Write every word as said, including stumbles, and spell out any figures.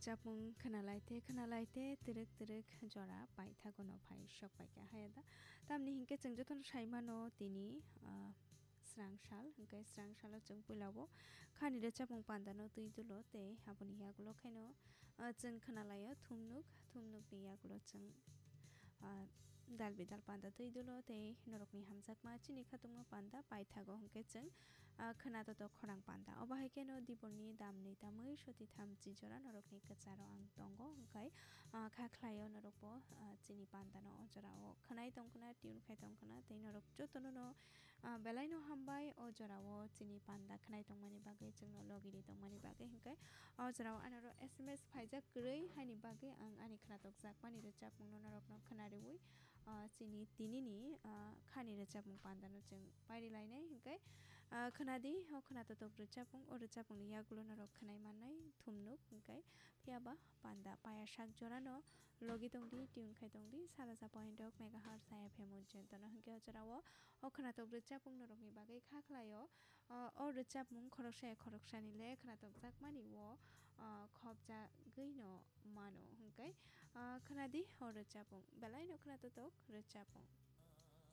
Chapmung khwnalaite khwnalaite twrwk twrwk jora paithago no phai sok paikha haya da. Tamni hinkhe chwng jotono saimano tini, ah, srang sal, hinkhe srang salo chwng puilao khani rwchapmung pandano twi dulo tei aboni yagulo khaino, ah, chwng khwnalaio thumnuk, thumnukni yagulo chwng, ah, dal bidal panda twi dulo tei norokni hamjakma chini khatungma panda paithago hinkhe chwng, ah, khwnato to khorang panda. Obo hai kheno diborni damni tamwi soti thamchi jora norokni kwcharo ang tongo, hwnkhe, ah, kha khlaio norokbo, ah, chini pandano o jorao khwnai tongkhna, tune khai tongkhna, tei norok jotono no, ah, belaino hambai o jorao chini panda khwnai tongmani bagwi, chwngno logiri tongmani bagwi, hwnkhe o jorao anoro S M S phaijak kwrwi haini bagwi ang ani khwnatok jakmani rwchapmungno norokno khwnariwi, ah, chini tinini, ah, khani rwchapmung pandano chwng pairi lainai, hwnkhe, ah, khwnadi, o khwnatok rwchapmung, o rwchapmungni yagulo norok khwnai mannai thumnuk, hwnkhe phiyaba panda paya sak jorano logi tongdi, tune khai tongdi, saraja point ok megahertz F M o jentono, hwnkhe o jorao o khwnatok rwchapmung norokni bagwi kha khlaio, ah, o rwchapmung khoroksa ya khoroksani le khwnatok jakmani o, ah, khopjagwi no mano, hwnkhe, ah, khwnadi o rwchapmung, belaino khwnatotok rwchapmung.